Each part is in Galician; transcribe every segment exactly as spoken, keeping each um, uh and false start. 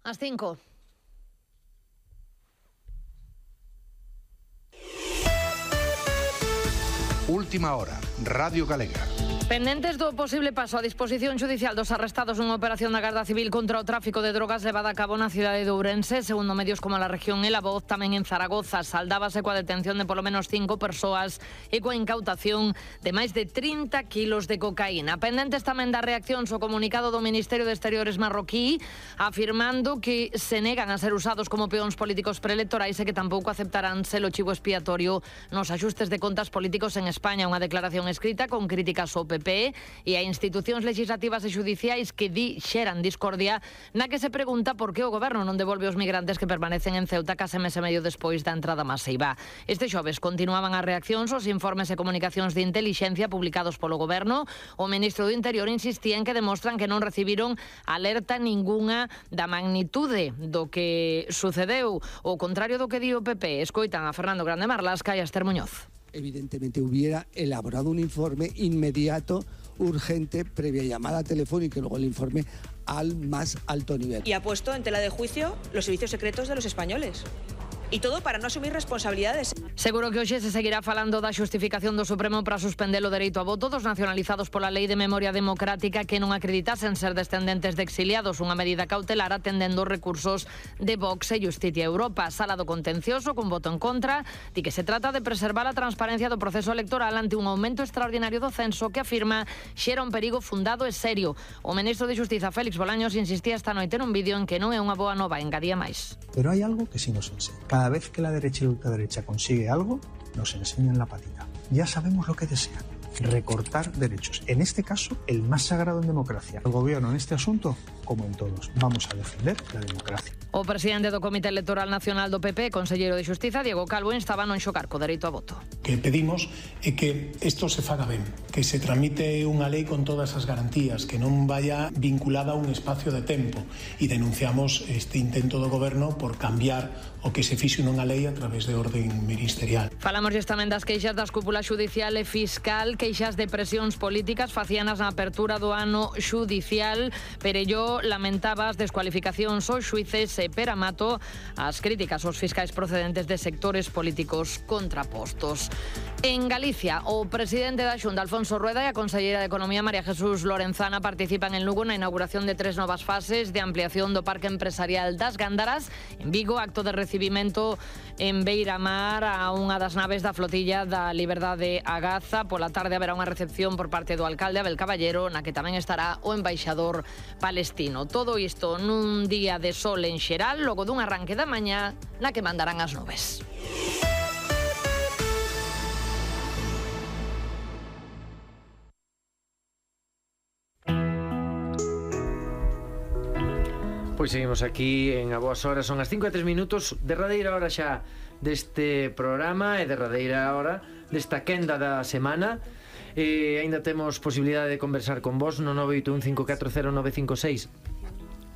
As cinco. Última hora, Radio Galega. Pendentes do posible paso a disposición judicial dos arrestados nunha operación da Garda Civil contra o tráfico de drogas levada a cabo na cidade de Ourense, segundo medios como La Región e La Voz, tamén en Zaragoza, saldábase coa detención de polo menos cinco persoas e coa incautación de máis de trinta kilos de cocaína. Pendentes tamén das reaccións ao comunicado do Ministerio de Exteriores marroquí, afirmando que se negan a ser usados como peóns políticos preelectorais e que tampouco aceptarán ser o chivo expiatorio nos axustes de contas políticos en España. Unha declaración escrita con críticas ao P P e a institucións legislativas e xudiciais que di xeran discordia, na que se pregunta por que o goberno non devolve os migrantes que permanecen en Ceuta case mes e medio despois da entrada masiva. Este xoves continuaban as reaccións aos informes e comunicacións de intelixencia publicados polo goberno. O ministro do Interior insistía en que demostran que non recibiron alerta ningunha da magnitude do que sucedeu. O contrario do que di o P P, escoitan a Fernando Grande Marlasca e a Esther Muñoz. Evidentemente hubiera elaborado un informe inmediato, urgente, previa llamada telefónica y luego el informe al más alto nivel. Y ha puesto en tela de juicio los servicios secretos de los españoles. Y todo para no asumir responsabilidades. Seguro que hoxe se seguirá falando da xustificación do Supremo para suspender o dereito a voto dos nacionalizados pola Lei de Memoria Democrática que non acreditasen ser descendentes de exiliados, unha medida cautelar atendendo os recursos de Vox e Justicia Europa. Sala do Contencioso, con voto en contra, di que se trata de preservar a transparencia do proceso electoral ante un aumento extraordinario do censo que afirma xera un perigo fundado e serio. O ministro de Xustiza, Félix Bolaños, insistía esta noite nun vídeo en que non é unha boa nova, engadía máis. Pero hai algo que sí nos enseña. Cada vez que la derecha y la ultraderecha consigue algo, nos enseñan la patita. Ya sabemos lo que desean. Recortar derechos. En este caso, el más sagrado en democracia. El gobierno en este asunto, como en todos, vamos a defender la democracia. O presidente do Comité Electoral Nacional do P P, conselleiro de Xustiza, Diego Calvo, estaba non xocar co dereito a voto. Que pedimos é que isto se faga ben, que se tramite unha lei con todas as garantías, que non vaya vinculada a un espacio de tempo, e denunciamos este intento do goberno por cambiar o que se fixe nunha lei a través de orden ministerial. Falamos tamén das queixas das cúpulas judicial e fiscal, queixas de presións políticas facíanas na apertura do ano judicial. Perelló lamentaba as descualificacións aos xuíces e Pera Mato as críticas aos fiscais procedentes de sectores políticos contrapostos. En Galicia, o presidente da Xunta, Alfonso Rueda, e a conselleira de Economía, María Jesús Lorenzana, participan en Lugo na inauguración de tres novas fases de ampliación do Parque Empresarial das Gándaras. En Vigo, acto de recibimento en Beiramar a unha das naves da flotilla da Liberdade a Gaza. Pola tarde haberá unha recepción por parte do alcalde Abel Caballero, na que tamén estará o embaixador palestino. Todo isto nun día de sol en xeral, logo dun arranque da mañá na que mandarán as nubes. Pois seguimos aquí en A Boas Horas. Son as cinco e tres minutos, derradeira hora xa deste programa e derradeira hora desta quenda da semana. E aínda temos posibilidade de conversar con vos no nove oito un cinco catro cero nove cinco seis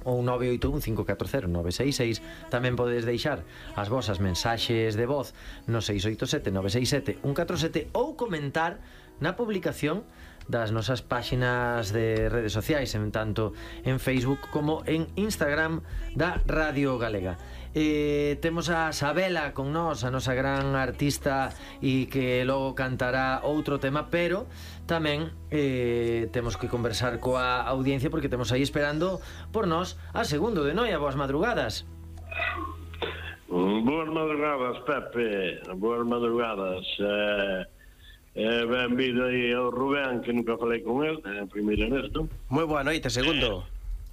ou nove oito un cinco catro cero nove seis seis. Tamén podedes deixar as vosas mensaxes de voz no seis oito sete nove seis sete un catro sete ou comentar na publicación das nosas páxinas de redes sociais, en tanto en Facebook como en Instagram da Radio Galega. Eh, temos a Sabela con nós, a nosa gran artista, e que logo cantará outro tema, pero tamén eh, temos que conversar coa audiencia porque temos aí esperando por nós a Segundo de Noia. Boas madrugadas. Boas madrugadas, Pepe. Boas madrugadas. Eh... Eh, benvido aí ao Rubén, que nunca falei con el, eh, primeiro nesto. Moi boa noite, Segundo.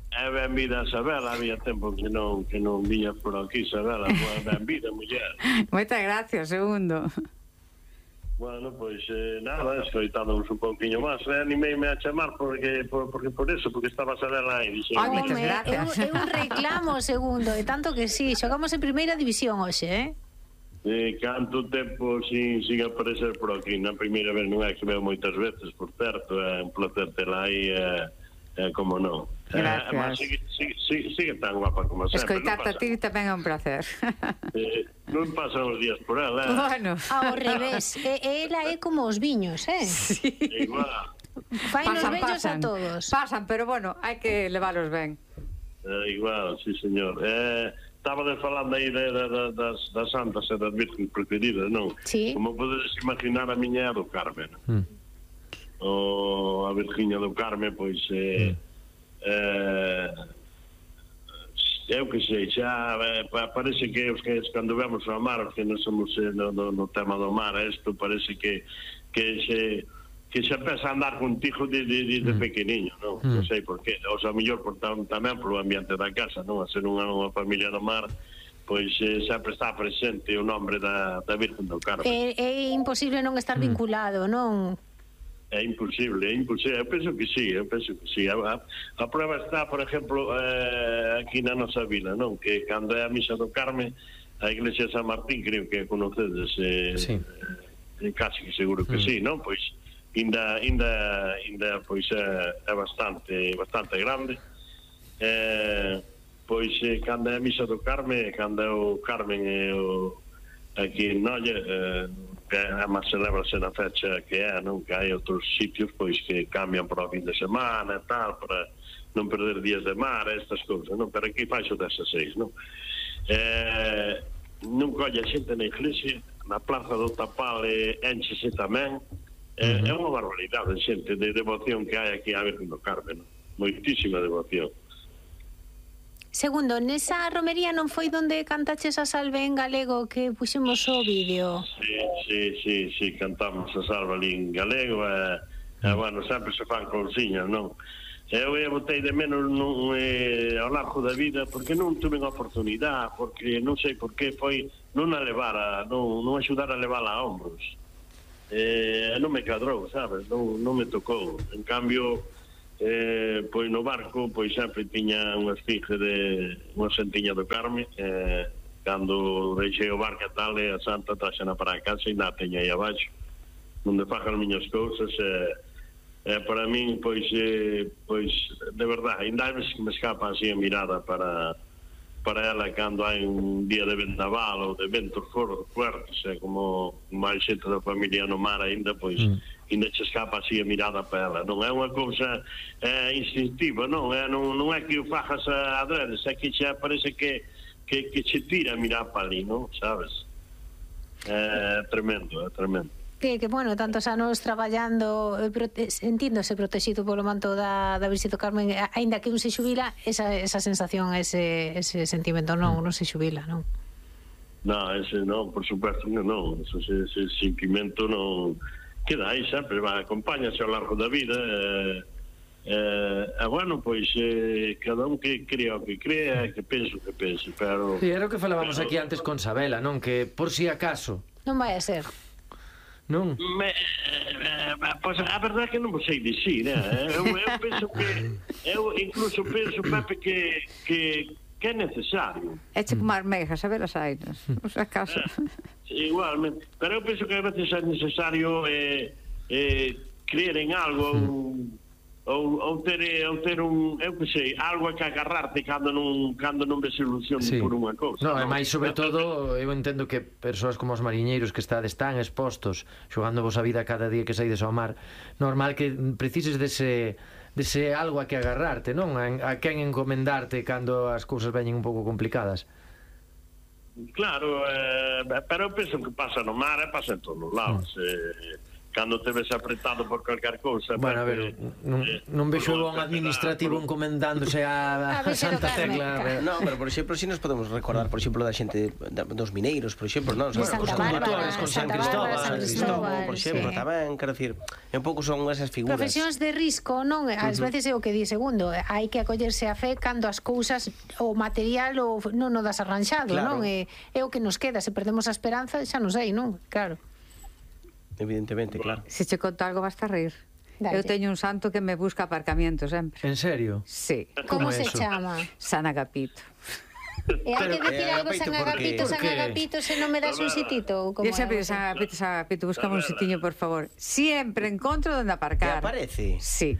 Eh, benvida a Sabela, había tempo que non que non viña por aquí, Sabela. Boa, benvida, muller. Moitas gracias, Segundo. Bueno, pois eh, nada, escoitamos un pouquiño máis. Eh, animeime a chamar porque por, porque por eso, porque estaba Sabela aí. Dixe, Ai, moitas gracias. É un reclamo, Segundo, e tanto que sí, xogamos en primeira división hoxe, eh? Eh, canto tempo sin, sin aparecer por aquí. Na primeira vez non é que veo moitas veces, por certo, é un placer tela aí, é, é como non. Gracias. Eh, mas sigue, sigue, sigue, sigue tan guapa como sempre. Escoitarte a ti tamén é un placer. Eh, non pasan os días por ela, eh? Bueno. Ao revés, e, ela é como os viños, eh? Sí. Igual. Fai nos bellos a todos. Pasan, pero bueno, hai que levalos ben. Eh, igual, sí, señor. Eh, estaba de falando aí de, de, de, das, das santas e das virgens preferidas, non? Sí. Como podedes imaginar, a miña é do Carme, non? Mm. O a Virginia do Carme, pois... Eh, mm. eh, eu que sei, xa eh, parece que os que cando vemos o mar, os que non somos eh, no, no, no tema do mar, isto parece que que se que se empeza a andar contigo de, de, de, de pequeniño, non? Mm. Non sei por qué, o sea, mellor por tamén polo ambiente da casa, non? A ser unha, unha familia do mar, pois eh, sempre está presente o nombre da, da Virgen do Carme. É, é imposible non estar vinculado, non? É imposible, é imposible. Eu penso que sí, eu penso que sí. A, a, a prueba está, por exemplo, eh, aquí na nosa vila, non? Que cando é a misa do Carme, a iglesia de San Martín, creo que conocedes, eh, sí. eh, casi que seguro que mm. sí, non? Pois, inda, inda, inda pois, é, é bastante, bastante grande. Eh, pois, eh, cando é a misa do Carme, cando é o Carmen e o aquí en Noia, eh, que además celebrase na fecha que é, non? Que hai outros sitios pois que cambian para o fin de semana e tal, para non perder días de mar, estas cousas, non? Pero aquí fai xo dezaseis, non? Eh, non colle a xente na iglesia, na plaza do Tapal eh, enchese tamén, eh, uh-huh. É unha barbaridade de xente de devoción que hai aquí a Virgen do Carme, non? Moitísima devoción. Segundo, nesa romería non foi onde cantaches a salve en galego que puxemos o vídeo? Sí, sí, sí, sí, cantamos a salve ali en galego e, e bueno, sempre se fan cousiñas, non? Eu e botei de menos non, eh, ao largo da vida porque non tuve a oportunidade, porque non sei por qué foi non a levar a, non, non axudar a levar a hombros. Eh, non me cadrou, sabes? Non, non me tocou. En cambio... Eh, pois no barco pois sempre tiña unha esfinge de unha sentiña do Carme, eh, cando deixei o barco e tal, e a santa traxena para a casa e na teña aí abaixo onde fajan as miñas cousas. eh, eh, para min pois eh, pois de verdade ainda me escapa así a mirada para para ela cando hai un día de vendaval ou de ventos fuertes, eh, como máis xente da familia no mar ainda, pois mm. ainda se escapa así a mirada para ela. Non é unha cousa eh, instintiva, non é, non, non é que o fajas a adredes, é que xa parece que, que, que che tira a mirar para ali, non? Sabes? É tremendo, é tremendo. Que, que bueno, tantos anos traballando, eh, prote sentíndose protegido polo manto da, da Virxe do Carmen, aínda que un se xubila, esa, esa sensación, ese, ese sentimento non, non se xubila, non? Non, ese non, por supuesto que non, ese, ese sentimento non queda aí sempre, va, acompáñase ao largo da vida. eh, eh, e bueno, pois eh, cada un que crea o que crea, que penso que pense, pero... Sí, era o que falábamos aquí antes con Sabela, non? Que por si acaso... Non vai a ser. Non? Me, eh, pois a verdade é que non vos sei dicir, eh? eu, eu penso que eu incluso penso, Pepe, que, que, que é necesario. Eche como as megas, a ver as ainas, por si acaso. Eh, igualmente, pero eu penso que a veces é necesario eh, eh, creer en algo ou, ou, ter, ou ter un, eu que sei, algo a que agarrarte cando non, cando non ves ilusión sí. por unha cousa. Non, e máis sobre todo, eu entendo que persoas como os mariñeiros que estades tan expostos, xogando vos a vida cada día que saides ao mar, normal que precises dese, dese algo a que agarrarte, non? A, a quen encomendarte cando as cousas veñen un pouco complicadas. Claro, eh, pero eu penso que pasa no mar e pasa en todos os lados. Mm. Eh, cando te ves apretado por calquer cousa. Bueno, a ver, non, non vexo un administrativo encomendándose a, a Santa Tecla. Non, pero por exemplo, si nos podemos recordar, por exemplo, da xente dos mineiros, por exemplo, non? De Santa Bárbara, con San Cristóbal, San Cristóbal, por exemplo, tamén, quero dicir, un pouco son esas figuras. Profesións de risco, non? Ás veces é o que di segundo, hai que acollerse a fe cando as cousas, o material o non o das arranxado, non? É, é o que nos queda, se perdemos a esperanza, xa non sei, non? Claro. Evidentemente, claro. Se che conto algo vas a reír. Dale. Eu teño un santo que me busca aparcamiento sempre. En serio? Sí. Como se chama? San Agapito. E hai que dicir algo San Agapito, San Agapito, se non me das un sitito? Eu sempre digo San Agapito, San Agapito, buscame un sitiño, por favor. Siempre encontro donde aparcar. ¿Te aparece? Sí.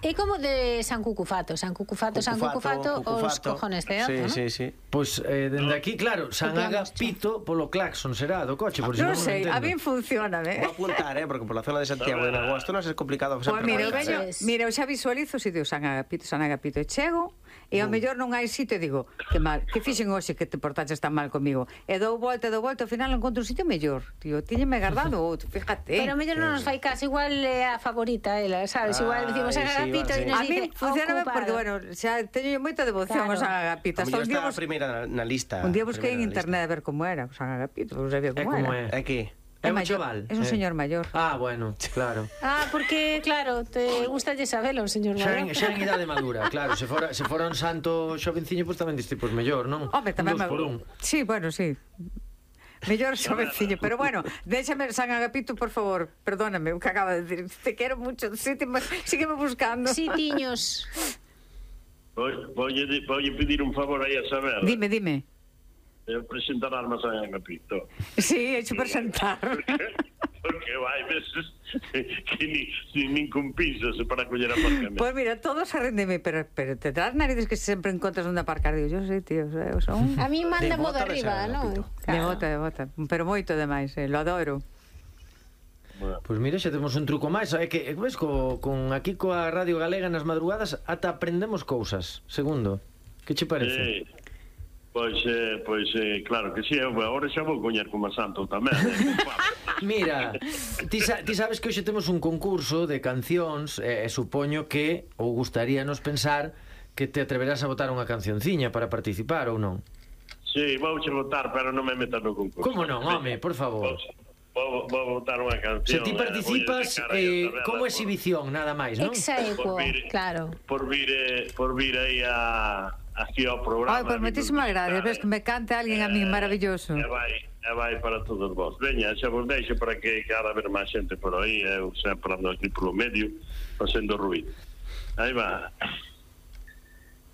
É como de San Cucufato, San Cucufato, San Cucufato, os cojones de ozo, sí, ¿no? sí, sí. Pois eh, dende aquí, claro, San Agapito polo claxon será do coche, por si Non non sei, a entendo. min funciona, eh? Vou apuntar, eh, porque por la zona de Santiago en agosto non é complicado. Pois mira, eu veño, mira, eu xa visualizo o sitio San Agapito, San Agapito, e chego, e ao mellor non hai sitio, e digo, que mal, que fixen hoxe que te portaches tan mal comigo, e dou volta, dou volta, ao final encontro un sitio mellor, tío, tíñeme guardado outro, fíjate. Pero mellor non nos fai caso, igual é a favorita ela, sabes, igual decimos San Agapito e nos A mí dice funciona ocupado. porque, bueno, xa teño moita devoción ao San Agapito. A Hasta un mellor día está a bus- primeira na, na lista. un día busquei en Primeira na internet a ver como era o San Agapito, non sabía É como como era. é. É que É un maior, chaval. é un eh. señor maior. Ah, bueno, claro. Ah, porque, claro, te gusta lle sabelo, señor Xa en, Mayor. xa en idade madura, claro, se fora, se fora un santo xovenciño, pois tamén diste, pois mellor, non? Home, tamén un dos me... por un. Sí, bueno, sí. Mellor xovenciño, pero bueno, déxame San Agapito, por favor, perdóname, o que acaba de decir, te quero mucho, sí, te, sígueme buscando. Sí, tiños. Voy a pedir un favor aí a saber. Dime, dime. Eu presentar armas a Agapito. Sí, hecho presentar. Porque vai veces que ni, ni, nin compensas para coller aparcamento. Pois pues mira, todos se rendeme, pero, pero te das narices que sempre encontras onde aparcar. Digo, yo sí, tío, eu son... A mí manda De modo bota de arriba, San non? Agapito. De bota, de bota, pero moito demais, eh, lo adoro. Pois mira, xa temos un truco máis. É que, ves, co, con aquí coa Radio Galega nas madrugadas ata aprendemos cousas. Segundo, que che parece? Eh, pois, eh, pois eh, claro que sí, eu agora xa vou coñer como santo tamén. Eh. Mira, ti, sa, ti sabes que hoxe temos un concurso de cancións e eh, supoño que, ou gustaríanos pensar, que te atreverás a botar unha cancionciña para participar ou non? Sí, vou che votar, pero non me metas no concurso. Como non, home, por favor. Vou, vou votar unha canción. Se ti participas eh, como exhibición, nada máis, non? Exaequo, claro. Por vir, eh, por vir aí a, aquí ao programa. Ai, pues moitísimas gracias, ves que me cante alguén a mí maravilloso. E vai, e vai para todos vos. Veña, xa vos deixo para que cada ver máis xente por aí, eu sempre ando aquí polo medio, facendo ruido. Aí va.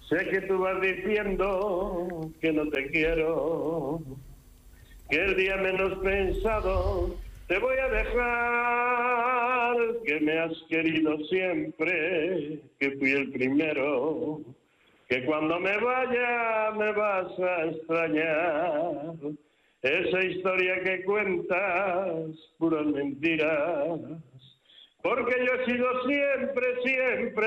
Sé que tú vas diciendo que no te quiero, que el día menos pensado te voy a dejar, que me has querido siempre, que fui el primero, que cuando me vaya me vas a extrañar. Esa historia que cuentas, puras mentiras, porque yo he sido siempre, siempre